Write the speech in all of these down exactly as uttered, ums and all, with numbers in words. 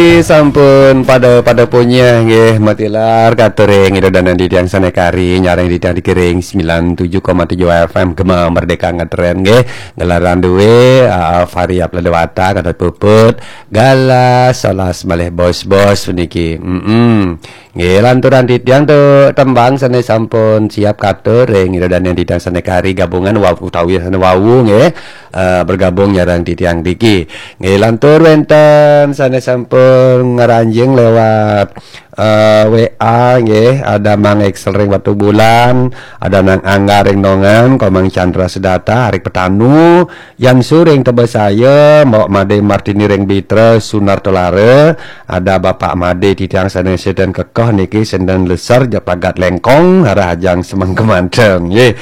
Sampun pada-pada punyah nggih, matilar katur ring Ida dané titiang sané kari nyarengin titiang ring sembilan tujuh koma tujuh F M Gema Merdeka ngetren nggih. Gelaran dué, ah, Fahri Abdul Dewata, Gatot Puput, Galah, Solas malih bos-bos niki. Mm-mm. Nggih, lanturang titiang tu tembang sané sampun siap katur ring Ida dané titiang sané kari gabungan wau utawi sané wau nggih, eh, bergabung nyarengin titiang niki. Nggih, lantur wénten sané sampun ngranjing lewat, eh, W A nggih, ada Mang Excel ring Batubulan, ada Nang Angga ring Nongan, Komang Chandra Sedata, Arik Petanu, Yan Suring Tebesaya, Mbok Made Martini ring Bitra, Sunar Tolara, ada Bapak Made titiang sané sida kekoh niki, sida leser ja pagat lengkong, arah ajang semeng kemanteng, nggih.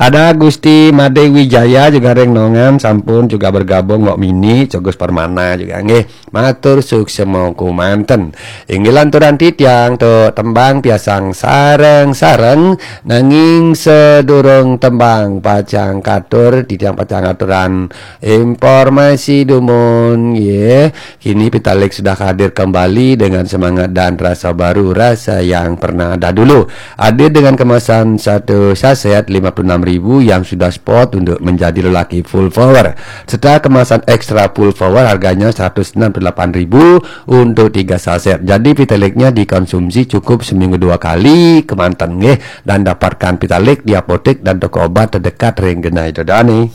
Ada Gusti Made Wijaya juga ring Nongan, sampun juga bergabung, Mbok Mini, Cogus Permana juga, nggih. Matur suksma kumanten. Inggih lanturang titiang tu tembang piasang sareng-sareng, nanging sadurung tembang pacang katur, titiang pacang aturang informasi dumun, nggih. Kini Pitalik sudah hadir kembali dengan semangat dan rasa baru, rasa yang pernah dahulu. Hadir dengan kemasan satu saset lima puluh enam ribu yang sudah spot untuk menjadi lelaki full power, serta kemasan extra full power harganya seratus enam puluh delapan ribu untuk tiga saset. Jadi Pitaliknya dikonsumsi cukup seminggu dua kali kemanten nggih, dan dapatkan Pitalik di apotek dan toko obat terdekat ring genah Ida dané.